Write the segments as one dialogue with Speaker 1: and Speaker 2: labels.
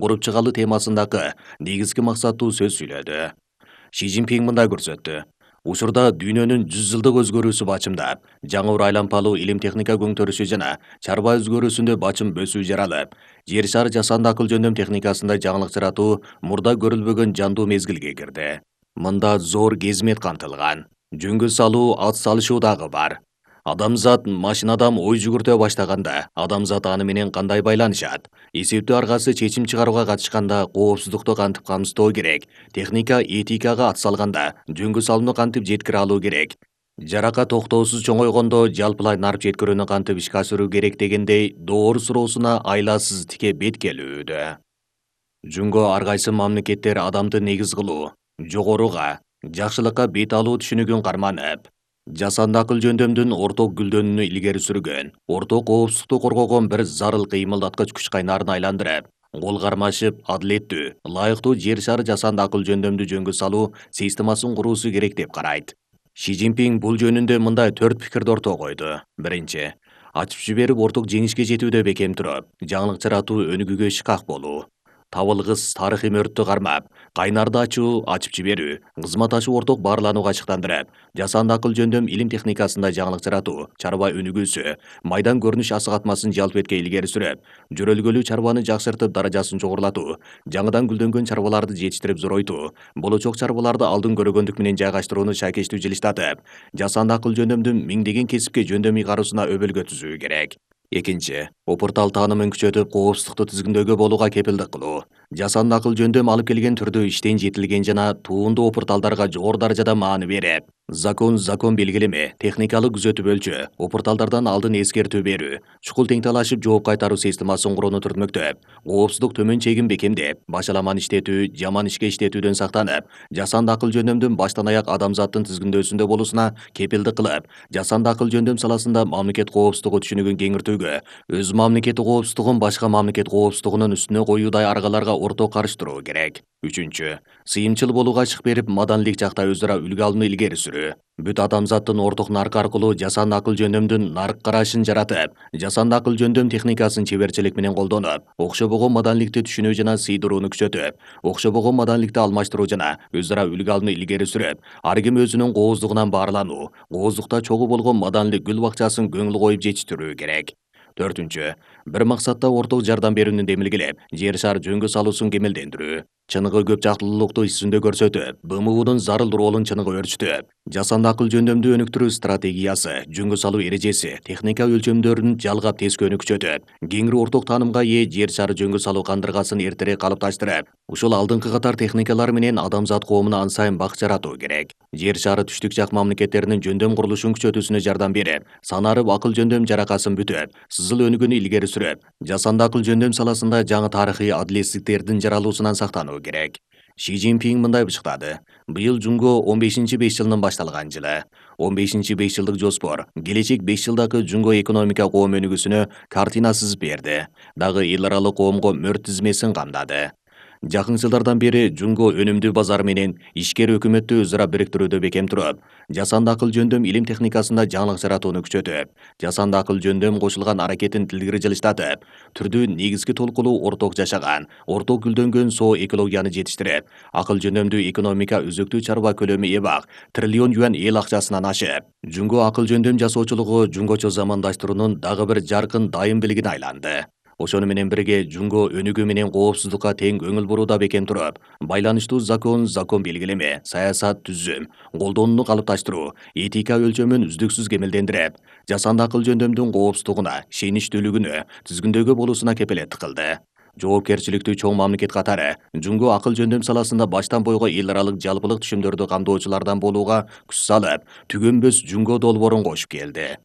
Speaker 1: куруп чыгалы темасындагы негизги максаттуу сөз сүйлөдү. Ши Цзиньпин мындай көрсөттү. Учурда дүйнөнүн 100 жылдык өзгөрүүсү бачымдап, жаңы айлампалуу илим техника көңтөрүшү жана чарба өзгөрүүсүндө бачым бөсүү жаралып, жер шары жасанды акыл жөндөм техникасында жаңылык жаратуу мурда көрүлбөгөн жандуу мезгилге кирди. Мында зор кезмет камтылган. Жөнгө салуу, ат салышуу дагы бар. Адамзат машинадан ой жүгүртө баштаганда, адамзат аны менен кандай байланышат? Эсептөө аргасы чечим чыгарууга катышканда коопсуздукту кантип камсыздоо керек? Техника этикага атсалганда жөнгө салууну кантип жеткире алуу керек? Жарака токтоосуз чоңойгондо жалпылай нарп жеткирүүнү кантип ишке ашыруу керек дегендей доор суроосуна айласыз тике бет келүүдө. Жөнгө ар кайсы мамлекеттер адамды негиз кылуу, жогоруга, жакшылыкка бет алуу түшүнүгүн карманып, жасанды акыл жөндөмдүн орток гүлдөнүүнү илгери сүргөн, орток коопсуздукту коргогон бир зарыл кыймылдаткыч күч кайнарын айландырып, кол кармашып, адилеттүү, ылайыктуу жер шары жасанды акыл жөндөмдү жөнгө салуу системасын куруусу керек деп карайт. Ши Цзиньпин бул жөнүндө мындай 4 пикирди ортого койду. Биринчи, ачып жиберип орток жеңишке жетүүдө бекем туруп, жаңылык жаратуу өнүгүүгө шкак болуу. Табылгыс тарыхый мөрттү кармап, кайнарды ачуу, ачып жиберүү, кызмат ашуу орток баарланууга ачыктандырып, жасанды акыл жөндөм илим техникасында жаңылык жаратуу, чарба өнүгүүсү, майдан көрүнүш асыгатмасын жалп этке илгери сүрөп, жөрөлгөлүү чарбаны жакшыртып даражасын жогорулатуу, жаңыдан гүлдөнгөн чарбаларды жетиштирип зоройтуу, болочок чарбаларды алдын көрөгөндүк менен жайгаштырууну шайкечтүү жылыштатып, жасанды акыл жөндөмдүн миңдеген кесипке жөндөм ыйгаруусуна өбөлгө түзүү керек. Экинчи, опуртал таанымын күчөтүп, коопсуздукту тизгиндөөгө болууга кепилдик кылуу. Жасанды акыл жөндөм алып келген түрдүү иштен жетилген жана туунду опурталдарга жогору даражада маани берип, закон белгилеме, техникалык күзөтүп өлчөө, опурталдардан алдын эскертүү берүү, чукул теңталашып жооп кайтаруу системасын курууну түртмөктөп, коопсуздук төмөн чегин бекемдеп, башаламан иштетүү, жаман ишке иштетүүдөн сактанып, жасанды акыл жөндөмдүн баштан аяк адамзаттын тизгиндөөсүндө болуусуна кепилдик кылып, жасанды акыл жөндөм саласында мамлекет коопсуздугу түшүнүгүн кеңиртүүгө, өз мамлекети коопсуздугун башка мамлекет коопсуздугунун үстүнө коюудай аргаларга орток карыштыруу керек. Үчүнчү, сыйымчыл болууга ачык берип, маданилик жакта өзара үлгү алууну илгери сүрүү. Бүт адамзаттын орток наркы аркылуу жасанды акыл жөндөмдүн нарк карашын жаратып, жасанды акыл жөндөм техникасын чеберчилик менен колдонуп, окшобогон маданиликти түшүнүү жана сыйдырууну күчөтүп, окшобогон маданиликти алмаштыруу жана өзара үлгү алууну илгери сүрүп, ар ким өзүнүн кооздугунан баарлануу, кооздукта чогуу болгон маданилик гүл бакчасын көңүл коюп жетиштирүү керек. Төртүнчү, бир максатта орток жардам берүүнү демилгелеп, жер шар жөнгө салуусун кемелдендирүү. Чыныгы көп жактылуулукту иш жүзүндө көрсөтүп, БМУдун зарыл ролун чыныгы өрчүтүп, жасанды акыл жөндөмдү өнүктүрүү стратегиясы, жөнгө салуу эрежеси, техника өлчөмдөрүн жалгап тескөөнү күчөтүп, кеңири орток таанымга ээ жер шары жөнгө салуу кандыргасын эртерээк калыпташтырып, ушул алдыңкы катар техникалар менен адамзат коомуна ан сайын бак жаратуу керек. Жер шары түштүк жак мамлекеттеринин жөндөм курулушун күчөтүүсүнө жардам берип, санарып акыл жөндөм жаракасын бүтүп, сызыл өнүгүүнү илгери сүрөп, жасанды акыл жөндөм саласында жаңы тарыхый адилетсиздиктердин жаралуусунан сактануу керек. Ши Цзиньпин мындай бышыктады. Быйыл Жунго 15-5 жылынын башталган жылы. 15-5 жылдык жоспор, келечек 5 жылдагы Жунго экономика коом өнүгүүсүнө картина сызып берди. Дагы эл аралык коомго мөрт тизмесин камдады. Жакын жылдардан бери Жунго өнүмдүү базар менен ишкер өкмөттү өзара бириктирүүдө бекем туруп, жасанды акыл жөндөм илим техникасында жаңылык жаратууну күчөтүп, жасанды акыл жөндөм кошулган аракетин илгери жылыштатып, түрдүү негизги толкулуу орток жашаган, орток гүлдөнгөн соо экологияны жетиштирип, акыл жөндөмдүү экономика өзөктүү чарба көлөмү эбак триллион юань эл акчасынан ашып, Жунго акыл жөндөм жасоочулугу жунгочо замандаштыруунун дагы бир жаркын дайым белгине айланды. Ошону менен бирге Жунго өнүгүү менен коопсуздукка тең көңүл бурууда бекем туруп, байланыштуу закон белгилеме, саясат түзүм, колдонууну калыпташтыруу, этика өлчөмүн үздүксүз кемелдендирип, жасанды акыл жөндөмдүн коопсуздугуна, ишеничтүүлүгүнө, тизгиндөөгө болуусуна кепилеттик кылды. Жоопкерчиликтүү чоң мамлекет катары Жунго акыл жөндөм саласында баштан бойго эл аралык жалпылык түшүмдөрдү камдоочулардан болууга күч салып, түгөнбөс Жунго долбоорун кошуп келди.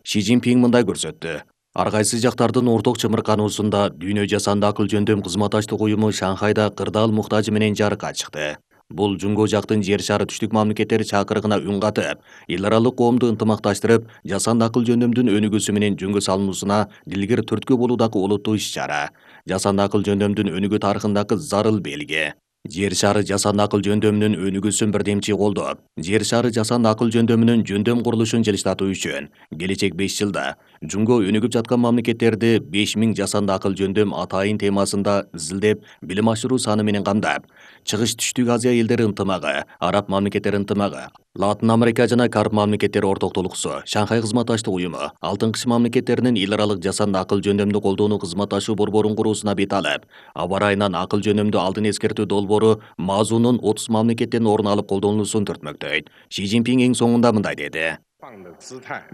Speaker 1: Ши Цзиньпин мындай көрсөттү. Ар кайсы жактардын орток чымыркануусунда дүйнө жасанды акыл жөндөм кызматташтык уюму Шанхайда кырдаал муктажы менен жарыкка чыкты. Бул Жунго жактын жер шары түштүк мамлекеттери чакырыгына үн катып, эл аралык коомду ынтымакташтырып, жасанды акыл жөндөмдүн өнүгүүсү менен жөнгө салынуусуна дилгир түрткү болуудагы олуттуу иш-чара. Жасанды акыл жөндөмдүн өнүгүү тарыхындагы зарыл белги. Жер шары жасанды акыл жөндөмүнүн өнүгүүсүн бирдемчи колдоп, жер шары жасанды акыл жөндөмүнүн жөндөм курулушун жылыштатуу үчүн келечек 5 жылда Жунго өнүгүп жаткан мамлекеттерди 5000 жасанды акыл жөндөм атайын темасында изилдеп, билим ашыруу саны менен камдап, Чыгыш Түштүк Азия элдери ынтымагы, Араб мамлекеттери ынтымагы, Латын Америка жана Карп мамлекеттери ортоктулуксу, Шанхай кызматташтык уюму, Алтын Кыш мамлекеттеринин эл аралык жасанды акыл жөндөмдү колдоону кызматташуу борборун куруусуна бет алып, аба ырайынан акыл жөндөмдү алдын эскертүү долбоору Мазунун 30 мамлекеттен орун алып колдонулуусун түртмөктөйт. Си Цзиньпин эң соңунда мындай деди.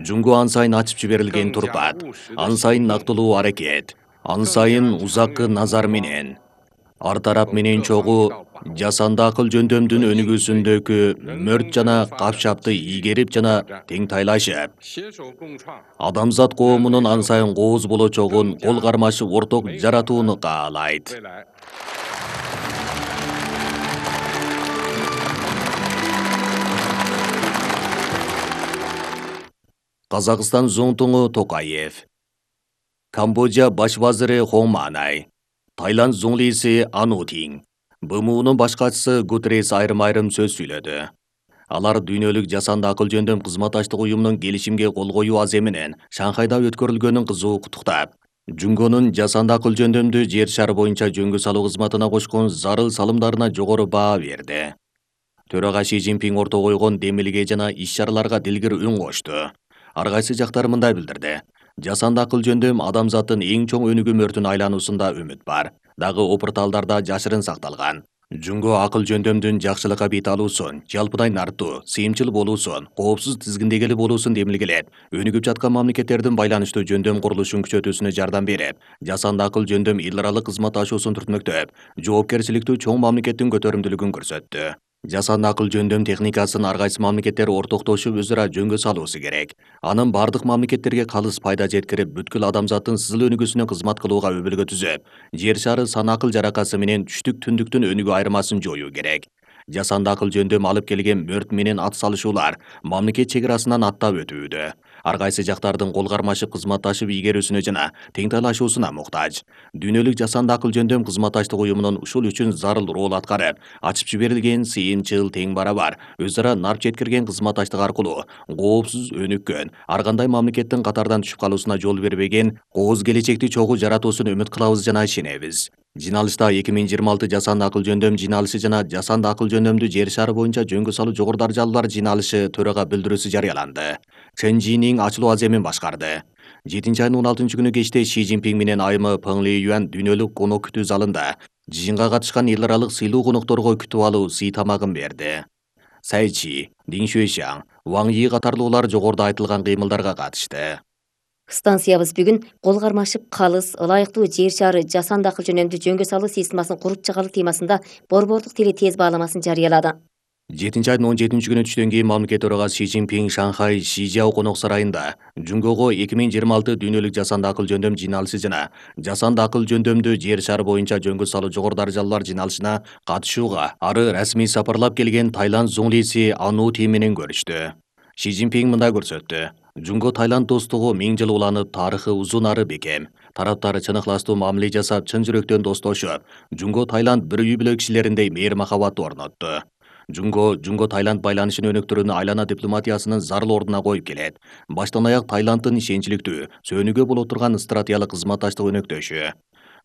Speaker 1: Жунго ан сайын ачып жиберилген турпат, ан сайын нактылуу аракет, ан сайын узаккы назар менен, ар тарап менен чогуу жасанды акыл жөндөмдүн өнүгүүсүндөгү мөрт жана капшапты ийгерип жана теңтайлашып, адамзат коомунун ан сайын кооз болочогун кол кармашып орток жаратууну каалайт. Казакстан зонтуңу Токаев, Камбоджа баш вазири Хоманай, Таиланд зуңлиси Анутин, БМУнун баш катчысы Гутеррес айрым-айрым сөз сүйлөдү. Алар дүйнөлүк жасанды акыл жөндөм кызматташтык уюмунун келишимге кол коюу аземинен Шанхайда өткөрүлгөнүн кызуу куттуктап, Жунгонун жасанды акыл жөндөмдү жер шары боюнча жөнгө салуу кызматына кошкон зарыл салымдарына жогору баа берди. Төрага Си Цзиньпин орто койгон демилге жана иш-чараларга дилгир үн кошту. Ар кайсы жактар мындай билдирди. Жасанды акыл жөндөм адамзаттын эң чоң өнүгүү мөртүн айлануусунда үмүт бар. Дагы опурталдарда жашырын сакталган. Жунго акыл жөндөмдүн жакшылыкка бет алуусун, жалпыдай нартуу, сыйымчыл болуусун, коопсуз тизгиндегели болуусун демилгелеп, өнүгүп жаткан мамлекеттердин байланыштуу жөндөм курулушун күчөтүүсүнө жардам берип, жасанды акыл жөндөм эл аралык кызматташуусун түртмөктөп, жоопкерчиликтүү чоң мамлекеттин көтөрүмдүүлүгүн көрсөттү. Жасанды акыл жөндөм техникасын ар кайсы мамлекеттер ортоктошуп өзү ара жөнгө салуусу керек. Анын бардык мамлекеттерге калыс пайда жеткирип, бүткүл адамзаттын сызыл өнүгүүсүнө кызмат кылууга өбөлгө түзөп, жер шары сан акыл жаракасы менен түштүк түндүктүн өнүгүү айырмасын жоюу керек. Жасанды акыл жөндөм алып келген мөрт менен ат салышуулар мамлекет чек арасынан аттап өтүүдө. Ар кайсы жактардын кол кармашып кызматташып ийгерүүсүнө жана теңтайлашуусуна муктаж. Дүйнөлүк жасанды акыл жөндөм кызматташтык уюмунун ушул үчүн зарыл роль аткарып, ачып жиберилген сыйымчыл тең барабар өз ара нарп жеткирген кызматташтык аркылуу коопсуз өнүккөн, ар кандай мамлекеттин катардан түшүп калуусуна жол бербеген кооз келечекти чогуу жаратуусуна үмүт кылабыз жана ишенебиз. Жиналышта 2026 жасанды акыл жөндөм жиналышы жана жасанды акыл жөндөмдү жер шары боюнча жөнгө салуу жогору даражалуулар жиналышы төрага билдирүүсү жарыяланды. Чен Жинин ачылуу аземин башкарды. 7-айдын 16-күнү кечте Си Цзиньпин менен айымы Пeng Liyuan дүйнөлүк конок күтүү залында жыйынга катышкан эл аралык сыйлуу конокторго күтүп алуу сый тамагын берди. Цай Чи, Дин Шуэшаң, Ваң Yi катарлуулар жогоруда айтылган кыймылдарга катышты.
Speaker 2: Станциябыз бүгүн кол кармашып калыс, ылайыктуу жер шары жасанды акыл жөнөмдү жөнгө салуу системасын куруп чыгаруу темасында борбордук тили тез бааламасын жарыялады.
Speaker 1: 7-айдын 17-күнү түштөн кийин мамлекет төрагасы Си Цзиньпин Шанхай Шижяо конок сарайында Жунгого 2026 дүйнөлүк жасанды акыл жөндөм жиналышы жана жасанды акыл жөндөмдү жер шары боюнча жөнгө салуу жогору даражалуулар жиналышына катышууга ары расмий сапарлап келген Таиланд зуңлиси Анути менен көрүштү. Си Цзиньпин мындай көрсөттү. Жунго Таиланд достугу 1000 жыл уланып, тарыхы узун ары бекем. Тараптар чын ыхластуу мамиле жасап, чын жүрөктөн достошуп, Жунго Таиланд бир үй бүлө кишилериндей мээр махабатты орнотту. Жунго Таиланд байланышын өнүктүрүүнү айлана дипломатиясынын зарыл ордуна коюп келет. Баштан аяк Таиланддын ишенчиликтүү, сөөнүүгө боло турган стратегиялык кызматташтык өнөктөшү.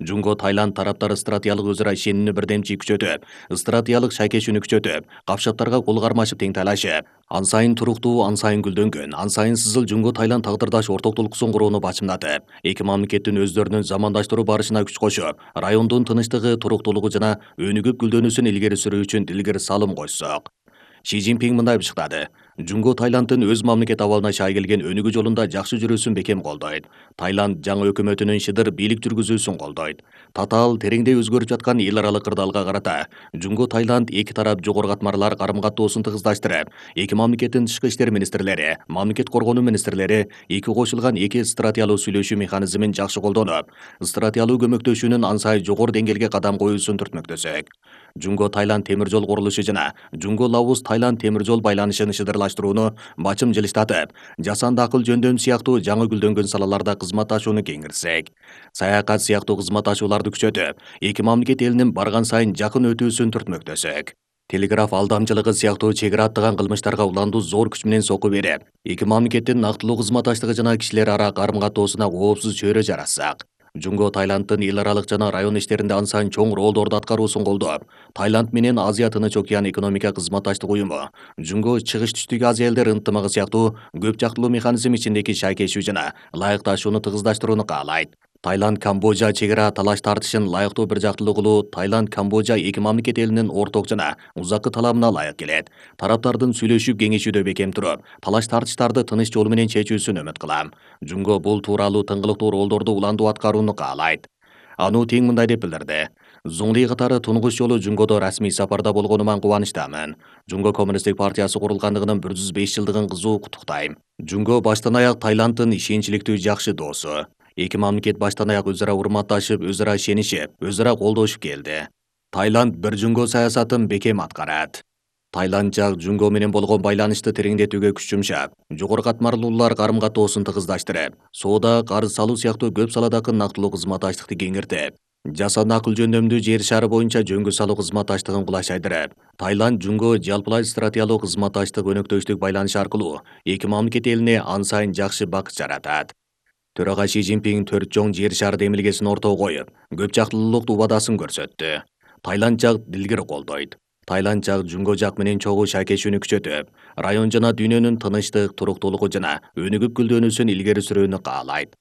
Speaker 1: Жунго Таиланд тараптары стратегиялык өз ара ишенимini бирдемчи күчөтүп, стратегиялык шайкешүүнү күчөтүп, капшаптарга кол кармашып теңтайлашып, ан сайын туруктуу, ан сайын гүлдөнгөн, ан сайын сызыл Жунго Таиланд тагдырдаш ортоктулуксун курууну бачымдатып, эки мамлекеттин өздөрүнүн замандаштыруу барышына күч кошуп, райондун тынчтыгы, туруктуулугу жана өнүгүп гүлдөнүүсүн илгери сүрүү үчүн дилгир салым кошсок. Си Цзиньпин мындай бышыктады. Жунго Таиланддын өз мамлекет абалына шай келген өнүгүү жолунда жакшы жүрүүсүн бекем колдойт. Таиланд жаңы өкмөтүнүн шыдыр бийлик жүргүзүүсүн колдойт. Татаал, тереңдей өзгөрүп жаткан эл аралык кырдаалга карата Жунго Таиланд эки тарап жогору катмарлар карым-каттоосун тыгыздаштырып, эки мамлекеттин тышкы иштер министрлери, мамлекет коргонуу министрлери эки кошулган эки стратегиялуу сүйлөшүү механизмин жакшы колдонуп, стратегиялуу көмөктөшүүнүн ан сайын жогору деңгээлге кадам коюусун түртмөктөсөк. Жунго Таиланд темир жол курулушу жана Жунго Лаос Таиланд темир жол байланышын шыдырлаштырууну бачым жылыштатып, жасанды акыл жөндөм сыяктуу жаңы гүлдөнгөн салаларда кызматташууну кеңиртсек, саякат сыяктуу кызматташууларды күчөтүп, эки мамлекет элинин барган сайын жакын өтүүсүн түртмөктөсөк. телеграф алдамчылыгы сыяктуу чек аттаган кылмыштарга уландуу зор күч менен сокку берип, эки мамлекеттин нактылуу кызматташтыгы жана кишилер ара карым-катоосуна коопсуз чөйрө жаратсак. Жунго Таиланддын эл аралык жана район иштеринде ан сайын чоң ролдорду аткаруусун колдоп, Таиланд менен Азия Тынч океан экономика кызматташтык уюму, Жунго Чыгыш Түштүк Азия элдер ынтымагы сыяктуу көп жактылуу механизм ичиндеги шайкешүү жана ылайыкташууну тыгыздаштырууну каалайт. Таиланд-Камбожа чек ара талаш тартышын ылайыктуу бир жактылуу кылуу Таиланд-Камбожа эки мамлекет элинин орток жана узаккы талабына ылайык келет. Тараптардын сүйлөшүп кеңешүүдө бекем туруп, талаш тартыштарды тыныч жол менен чечүүсүн үмүт кылам. Жунго бул тууралуу тыңгылыктуу ролдорду уландуу аткарууну каалайт. Ануу тең мындай деп билдирди. Зуңли катары тунгуч жолу Жунгодо расмий сапарда болгонума кубанычтамын. Жунго Коммунисттик партиясы курулгандыгынын 105 жылдыгын кызуу куттуктайм. Жунго баштан аяк Таиланддын ишенчиликтүү жакшы досу. Эки мамлекет баштан аяк өз ара урматташып, өз ара ишенишип, өз ара колдошуп келди. Таиланд бир Жунго саясатын бекем аткарат. Таиланд жак Жунго менен болгон байланышты тереңдетүүгө күч жумшап, жогору катмарлуулар карым-катоосун тыгыздаштырып, соода, карыз салуу сыяктуу көп саладагы нактылуу кызматташтыкты кеңиртип, жасанды акыл жөндөмдүү жер шары боюнча жөнгө салуу кызматташтыгын кулачайдырып, Таиланд Жунго жалпылай стратегиялык кызматташтык өнөктөштүк байланыш аркылуу эки мамлекет элине ан сайын жакшы бакыт жаратат. Төрага Си Цзиньпин 4 чоң жер шары демилгесин ортого коюп, көп жактылуулук убадасын көрсөттү. Таиланд жак дилгир колдойт. Таиланд жак Жунго жак менен чогуу шайкешүүнү күчөтүп, район жана дүйнөнүн тынычтык, туруктуулугу жана өнүгүп гүлдөнүүсүн илгери сүрүүнү каалайт.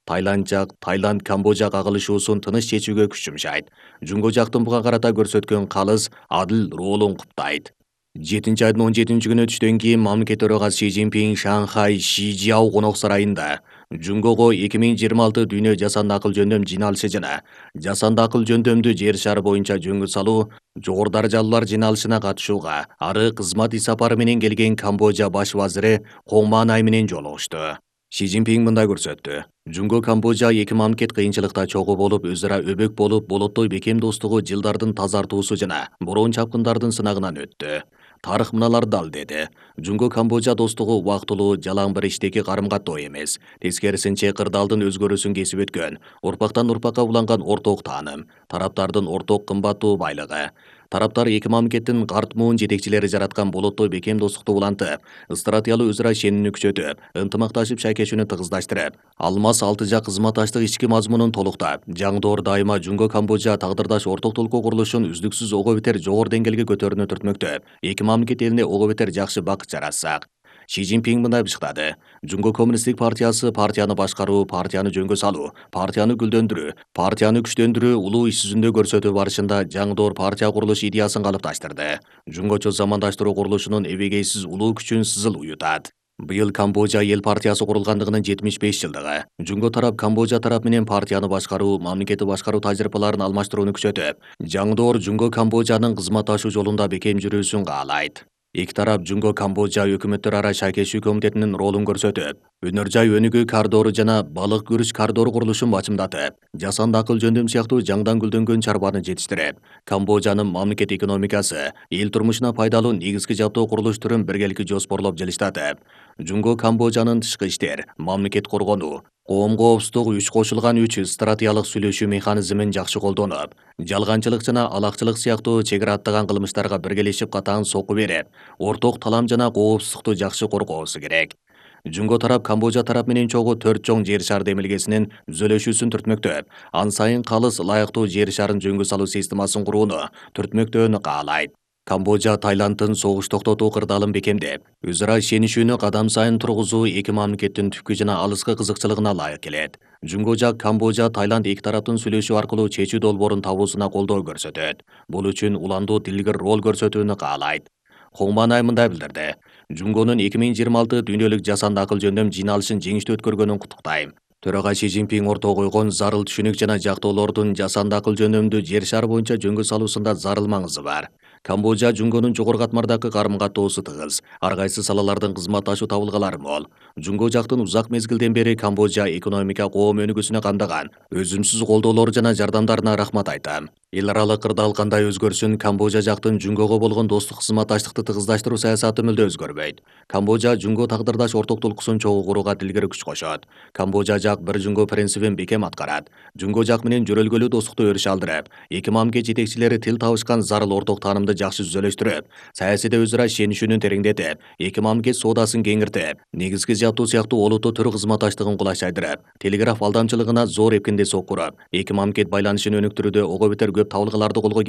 Speaker 1: Таиланд жак Таиланд-Камбожа кагылышуусун тыныч чечүүгө күч жумшайт. Жунго жактын буга карата көрсөткөн калыс, адыл ролун куттайт. 7-айдын 17-күнү түштөн кийин мамлекет төрагасы Си Цзиньпин Шанхай Шижиао конок сарайында Жунгого 2026 дүйнө жасанды акыл жөндөм жиналышы жана жасанды акыл жөндөмдүү жер шары боюнча жөнгө салуу жогору даражалуулар жиналышына катышууга ары кызмат иш сапары менен келген Камбожа баш вазири Хоңманай менен жолугушту. Си Цзиньпин мындай көрсөттү. Жунго Камбожа эки мамлекет кыйынчылыкта чогуу болуп, өз ара өбөк болуп, болоттой бекем достугу жылдардын тазартуусу жана бороон чапкындардын сынагынан өттү. Тарых мыналар дал деди. Жунго Камбожа достугу убактылуу жалаң бир иштеги карым-катоо эмес. Тескерисинче кырдаалдын өзгөрүүсүн кесип өткөн, урпактан урпакка уланган орток тааным, тараптардын орток кымбаттуу байлыгы. Тараптар эки мамлекеттин карт муун жетекчилери жараткан болоттой бекем достукту улантып, стратегиялык өз ара ишенимини күчөтүп, ынтымакташып шайкешүүнү тыгыздаштырып, алмаз алты жак кызматташтык ички мазмунун толуктап, жаңдоор дайыма Жунго Камбожа тагдырдаш орток толкуу курулушун үздүксүз ого бетер жогору деңгээлге көтөрүүнү түртмөктөп, эки мамлекет элине ого бетер жакшы бакыт жаратсак. Си Цзиньпин мындай бышкады. Жунго Коммунисттик партиясы партияны башкаруу, партияны жөнгө салуу, партияны гүлдөндүрүү, партияны күчтөндүрүү улуу иш жүзүндө көрсөтүү барышында жаңдоор партия курулуш идеясын калыпташтырды. Жунгочо замандаштыруу курулушунун эбегейсиз улуу күчүн сызыл уютат. Быйыл Камбожа эл партиясы курулгандыгынын 75 жылдыгы. Жунго тарап Камбожа тарап менен партияны башкаруу, мамлекетти башкаруу тажрыйбаларын алмаштырууну күчөтүп, жаңдоор Жунго Камбожанын кызматташуу жолунда бекем жүрүүсүн каалайт. Эки тарап Жунго Камбожа өкмөттөр ара шайкешүү комитетинин ролун көрсөтүп, өнөр жай өнүгүү коридору жана балык күрүч коридору курулушун бачымдатып, жасанды акыл жөндөм сыяктуу жаңдан гүлдөнгөн чарбаны жетиштирип, Камбожанын мамлекет экономикасы, эл турмушуна пайдалуу негизги жабдоо курулуш түрүн биргеликти жоспорлоп жылыштатып, Жунго Камбожанын тышкы иштер, мамлекет коргонуу, коом коопсуздук үч кошулган 3 стратегиялык сүйлөшүү механизмин жакшы колдонуп, жалганчылык жана алакчылык сыяктуу чек ара аттаган кылмыштарга биргелешип катаан сокку берип, орток талам жана коопсуздукту жакшы коргоосу керек. Жунго тарап Камбожа тарап менен чогуу 4 чоң жер шары демилгесинин түзөлүшүүсүн түртмөктөп, ан сайын калыс ылайыктуу жер шарын жөнгө салуу системасын курууну түртмөктөөнү каалайт. Камбожа Таиланддын согуш токтотуу кырдаалын бекемдеп, өз ара ишенишүүнү кадам сайын тургузуу эки мамлекеттин түпкү жана алыскы кызыкчылыгына ылайык келет. Жунго жак Камбожа Таиланд эки тараптын сүйлөшүү аркылуу чечүү долбоорун табуусуна колдоо көрсөтөт. Бул үчүн уландуу дилгир роль көрсөтүүнү каалайт. Хоңманай мындай билдирди. Жунгонун 2026 дүйнөлүк жасанды акыл жөндөм жиналышын жеңиштүү өткөргөнүн куттуктайм. Төрага Си Цзиньпин ортого койгон зарыл түшүнүк жана жактоолордун жасанды акыл жөндөмдүү жер шары боюнча жөнгө салуусунда зарыл маңызы бар. Камбожа Жунгонун жогору катмардагы карым-катоосу тыгыз, ар кайсы салалардын кызматташуу табылгалары мол. Жунго жактын узак мезгилден бери Камбожа экономика коом өнүгүүсүнө кандаган өзүмсүз колдоолору жана жардамдарына рахмат айтам. Эл аралык кырдаал кандай өзгөрсүн, Камбожа жактын Жунгого болгон достук кызматташтыкты тыгыздаштыруу саясаты мүлдө өзгөрбөйт. Камбожа Жунго тагдырдаш орток толкусун чогуу курууга дилгер күч кошот. Камбожа жак бир Жунго принцибин бекем аткарат. Жунго жак менен жөрөлгөлүү достукту өрүш алдырып, эки мамлекет жетекчилери тил табышкан зарыл орток таанымды жардамды жакшы түзөлөштүрүп, саясийде өзара ишенишүүнү тереңдетип, эки мамлекет соодасын кеңиртип, негизги жабдуу сыяктуу олуттуу төр кызматташтыгын кулайчайдырып, телеграф алдамчылыгына зор эпкинде сокуруп, эки мамлекет байланышын өнүктүрүүдө ого бетер көп табылгаларды колго